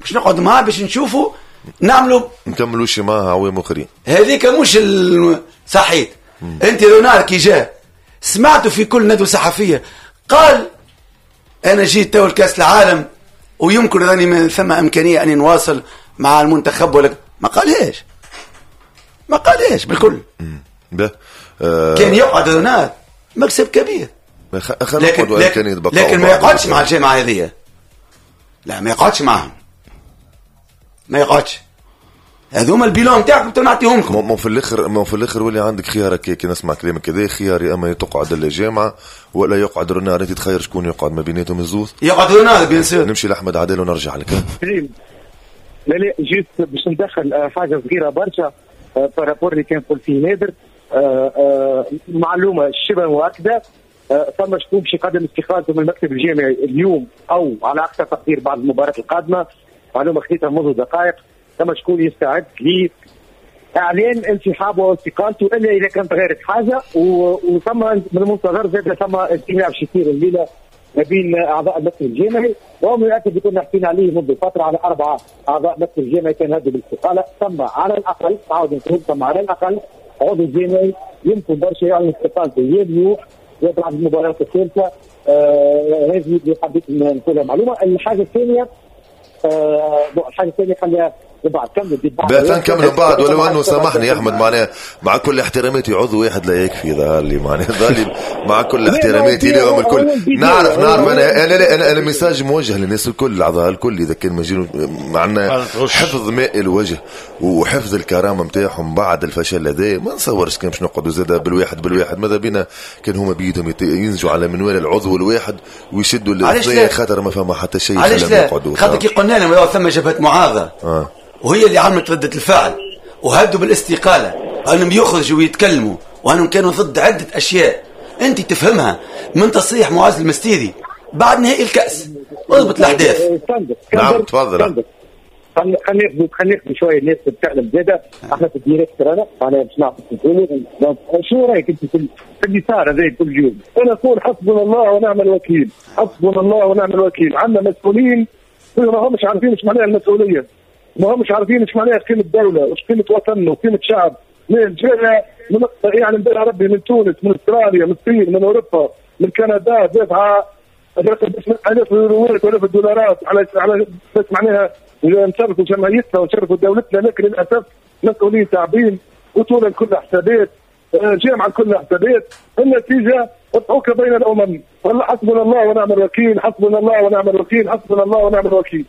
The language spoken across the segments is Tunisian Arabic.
باش نقعد معاه باش نشوفوا نعملوا نكملوا معاه عوام اخرين. هذيك مش صحيت. انت رونار كي جاء سمعته في كل ندوه صحفية قال انا جيت تو لكاس العالم ويمكن راني من ثم امكانية اني نواصل مع المنتخب، ولا ما قالهاش، ما قالهاش بالكل. كان يقعد رونار مكسب كبير، لكن ما يقعدش مع الجامعة هذه، لا ما يقعدش معهم، ما يقعدش. هذوما ال bilan نتاعكم نعطيهم لكم. مو في الاخر ولي عندك خيارك، كي نسمع كلامك كذا خيار، يا اما تقعد الجامعة ولا يقعد رونار، انت تخير شكون يقعد ما بيناتهم الزوز. يقعد رونار bien sûr. نمشي لاحمد عادل ونرجع لك. لا لا، juste باش ندخل حاجة صغيرة برشا par rapport اللي كان يقول فيه نادر، معلومة شبه مؤكده، ثم شكون باش يقدم استقالته من المكتب الجامعي اليوم او على اقصى تقدير بعد المباراة القادمه. معلومة خذيتها منذ دقائق، ثم شكون يستعد لاعلان انسحابه واستقالته الا اذا كانت تغيرت حاجه. وثم من المنتظر زاد ثم اجتماع باش يصير الليلة ما بين اعضاء المكتب الجامعي، وهو يؤكد اللي كنا حكينا عليه منذ فترة على اربعة اعضاء مكتب الجامعي كان هدوا بالاستقاله. ثم على الاقل، عاود نقول، ثم على الاقل عضو جامعي يمكن برشا يعلن استقالته يا اليوم يا بعد المباراة الثالثه. هذه اللي حبيت نقولها معلومه. الحاجة الثانية خليها بعد كمل. نكمل بعد، ولو انه سامحني يا احمد، معناها مع كل احتراماتي عضو واحد لا يكفي. ظهر لي معناها ظهر لي مع كل احتراماتي لهم الكل، نعرف نعرف انا message موجه للناس الكل، الاعضاء الكل، اذا كان مجينوا معنا حفظ ماء الوجه وحفظ الكرامة نتاعهم بعد الفشل هذا، ما نصورش كان باش نقعدوا زاد بالواحد بالواحد. ماذا بينا كان هما بيدهم ينزلوا على منوال العضو الواحد ويشدوا الاثنين، خاطر ما فما حتى شيء. علاش لا؟ خاطر كي قلنا لهم ثم جبهة معارضة وهي اللي عملت ردة الفعل وهدوا بالاستقالة، أنهم يخرجوا ويتكلموا وأنهم كانوا ضد عدة أشياء أنت تفهمها من تصريح معز المستيري بعد نهائي الكأس. اضبط الأحداث. نعم، تفضل. خلينا خلينا ناخذ شوية الناس تتكلم زاده، احنا في ال direct رانا معناها باش نعرف نقولوا. شو رايك انت في اللي صار هذا كل يوم؟ انا اقول حسبنا الله ونعم الوكيل، حسبنا الله ونعم الوكيل. عندنا مسؤولين ما همش عارفين ايش معناها المسؤوليه، ما همش عارفين ايش معناها قيمة دولة وايش قيمة وطن وقيمه شعب. من جهة من يعني من ربي، من تونس، من استراليا، من الصين، من اوروبا، من كندا، دافعه الاف اليوروات والاف الدولارات على بس معناها نشرفوا جمعيتنا ونشرفوا دولتنا، لكن للاسف مسؤولين تعبين، بطوله كلها حسابات، جامعه كلها حسابات، النتيجة اضحوكه بين الامم. والله حسبنا الله ونعم الوكيل، حسبنا الله ونعم الوكيل، حسبنا الله ونعم الوكيل.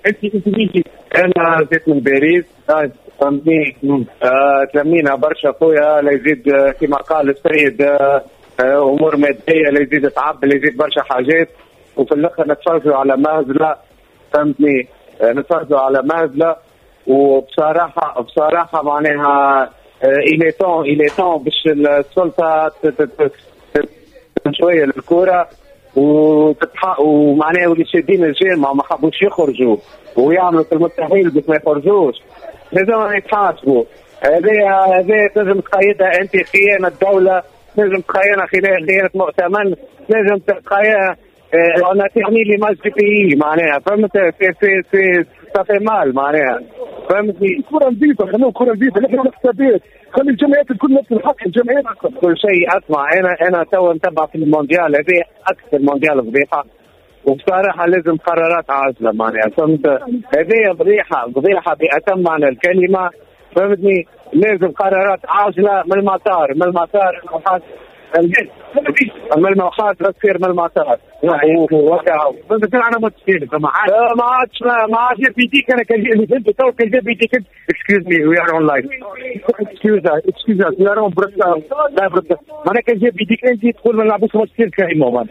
انت مين؟ انا جيت من باريس، فهمتني، تلمينا برشا خويا، لا يزيد كما قال السيد امور ماديه، لا يزيد تعب، لا يزيد برشا حاجات، وفي الاخر نتفرجوا على مهزله، فهمتني، نتفرجوا على مهزله. وبصراحة بصراحة معناها il est temps باش السلطة شوية للكرة وتتحق، ومعناها واللي شادين الجامعة ما حبوش يخرجوا ويعملوا في المستحيل باش ما يخرجوش لازم يتحاسبوا. هذه تنجم تقيدها انت خيانة دوله، تنجم تقيدها خيانة مؤتمن، تنجم تقيدها on a terni l'image du pays معناها، فهمت، c'est ça fait mal معناها، فهمتني. كرة نظيفة، خلوه كرة نظيفة، نحن الحسابات، خلي الجمعيات الكل نفس الحق، الجمعيات كل شيء. اسمع، انا تو نتبع في المونديال هذه، اكثر مونديال فضيحه، وبصراحة لازم قرارات عاجله معناها، فهمت، هذه فضيحة فضيحة باتم معنى الكلمه، فهمتني، لازم قرارات عاجله من المطار، من المطار، من المحاضرة تصير من المطار. بس انا متفق ما عادش ما عادش بيديك انا كان اللي فهمت تو كان جاب بيديك. excuse me، we are on live، excuse excuse، we are on broadcast، لا broadcast. معناها كان جاب بيديك انت تقول ما نلعبوش ماتش carrément.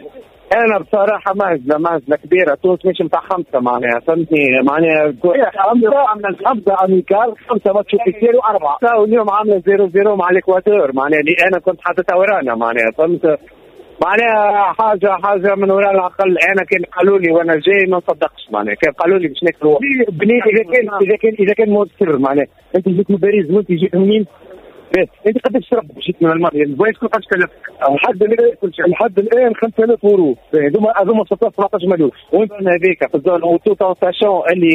انا بصراحة مهزله مهزله كبيره، تونس مش نتاع خمسة معناها، فهمتني، معناها عملنا خمسة amical، خمسة matchs officiels واربعه. واليوم عامله 0-0 مع الاكواتور، معناها اللي انا كنت حاططها ورانا معناها، فهمت، معناها حاجة حاجة من وراء العقل. انا كان قالوا لي وانا جاي ما نصدقش، معناها كان قالوا لي باش ناكلوا بني اذا كان مؤثر، معناها انت جيت من باريس وانت جيت منين؟ انت قداش تشرب جيت من المانيا؟ ال voyage قداش كلف؟ لحد الان 5000 اورو. هذوما 16 17 مليون. وانت هذيك في ال zone و tout en sachant اللي